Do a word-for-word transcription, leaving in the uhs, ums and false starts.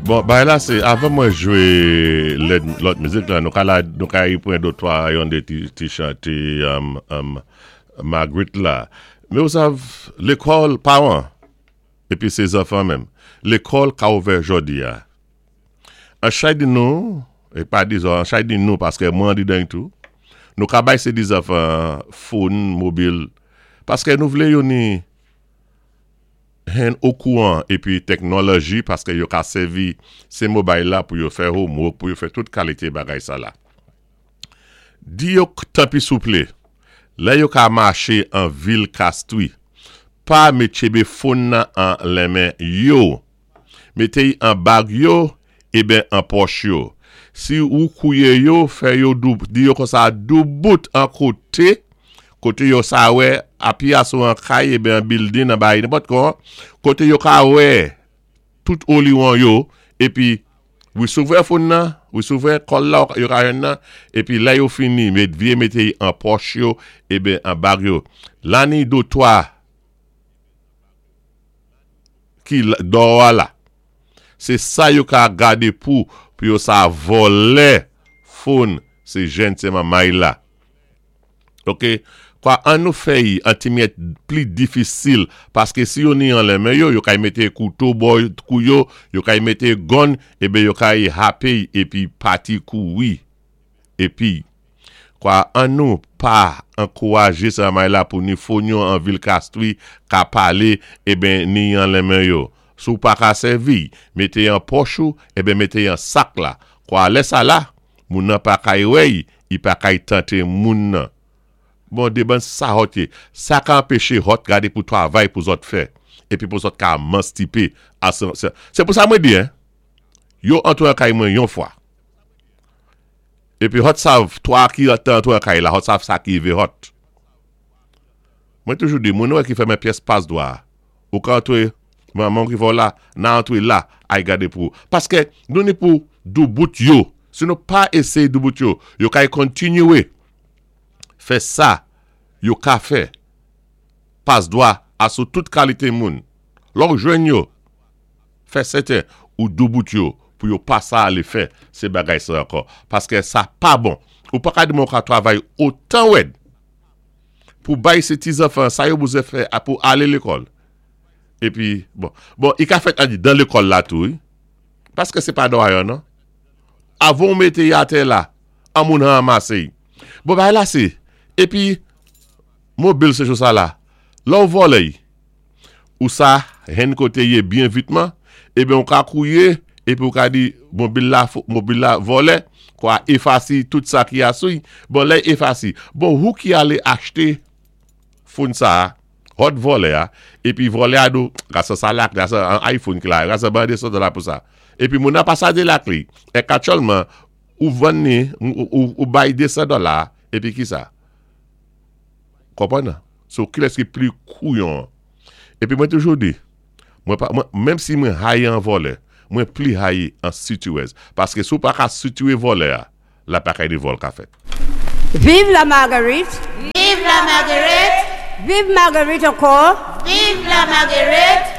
Bon, bagay la sé, avan mwen jwé lòt mizik la, nou ka la, nou ka yi pwen do twa yon dé ti, ti chanté um, um, Marguerite la. Mé ou sav, lékòl, pawan, épi sé zanfan menm, lékòl ka ouvè jòdi a. An chay di nou, é pa di zo, an chay di nou, paské mwen di den tou, nou ka bay sé di zanfan phone, mobil, paské nou vlé yo ni hen okouwan épi téknoloji paské yo ka sèvi sé mobile la pou yo fè homework, pou yo fè tout kalité bagay sa la. Di yo tanpi souplé, lè yo ka maché an vil Castries, pa mét tjébé phone nan an lenmen yo. Mété an bag yo, eben an pòch yo. Si ou kouyé yo, fè yo dou, di yo konsa doubout an koté, koté yo sa wè, api asou an kay, eben an building, an bay, nenpòt kon, koté yo ka wè, tout oliwon yo, épi, ou souvè phone nan, ou souvè kòl la, yo ka jwenn nan, épi lè yo fini, met vyé mété an pòch yo, eben an bag yo. Lani do twa, ki dò la. Sé sa yo ka gadé pou, pou yo sa vòlè phone, sé jenn sé manmay la. Ok? Kwa an nou fè yi, an ti myèt pli difisil, paské si yo ni an lenmen yo, yo kay mété kouto bò kou yo, yo kay mété gun, eben yo kay hapé épi pati kouri. Épi, kwa an nou pa ankourajé sa may la pou ni phone yo an vil Castries ka palé, eben ni an lenmen yo. Sou pa ka sèvi, mété an pòch ou, eben mété an sak la. Kwa lè sa la, moun nan pa kay wè, i pa kay tanté moun nan. Bon, dé ban sa hot yé. Sa ka anpéché hot gadé pou travay pou zòt fè. Épi pou zòt ka émansipé. Sé pou sa mwen di, hein? Yo antré an kay mwen yon fwa. Épi hot sav, twa ki antré an kay la, hot sav sa ki rivé hot. Mwen toujou di, moun wè ki fèmen pyès pas dwa. Ou ka antré, maman ki vo la, nan antré la, ay gadé pou. Paské nou ni pou doubout yo. Si nou pa éséyé doubout yo, yo kay kontinyé fè sa, yo ka fè. Pas dwa asou tout kalité moun. Lò jwenn yo, fè sèten ou doubout yo pou yo pa sa alé fè sé bagay sa ankò. Paské sa pa bon. Ou pa ka di moun ka travay otan wèd pou bay sé ti zanfan sa yo bezwen fè a pou alé lékòl. Épi, bon, bon, i ka fèt an di dan lékòl la tou, wi. Paské sé pa dwa yo, non? Avan mété y atè la, an moun ranmasé. Bon, bagay la sé, épi, mobil sé jou sa la, lò ou vòlè, ou sa, hen koté yé byen vitman, eben ou ka kouyé, épi ou ka di, mobil la, mobil la vòlè, kwa éfasé tout sa ki asou, bon, lè éfasé. Bon, ou ki alé achté phone sa, hot vòlè a, épi vòlè a do, gasa sa lak, gasa an iPhone ki la, gasa ban de so dola pou sa. Épi moun nan pa sa de lak li, é aktyèlman, ou vann ni, ou, ou, ou bay désan dola, épi ki sa? Konpwann nan? So, kilès ki pli kouyon? Épi mwen toujou di, mwen pa, mwen, menm si mwen hayi an vòlè, mwen pli hayi an sitiwèz. Paské sou pa ka sitiwé vòlè a, la pa kay di vòl ka fèt. Vive la Marguerite! Vive la Marguerite! Vive Marguerite ankò! Vive la Marguerite!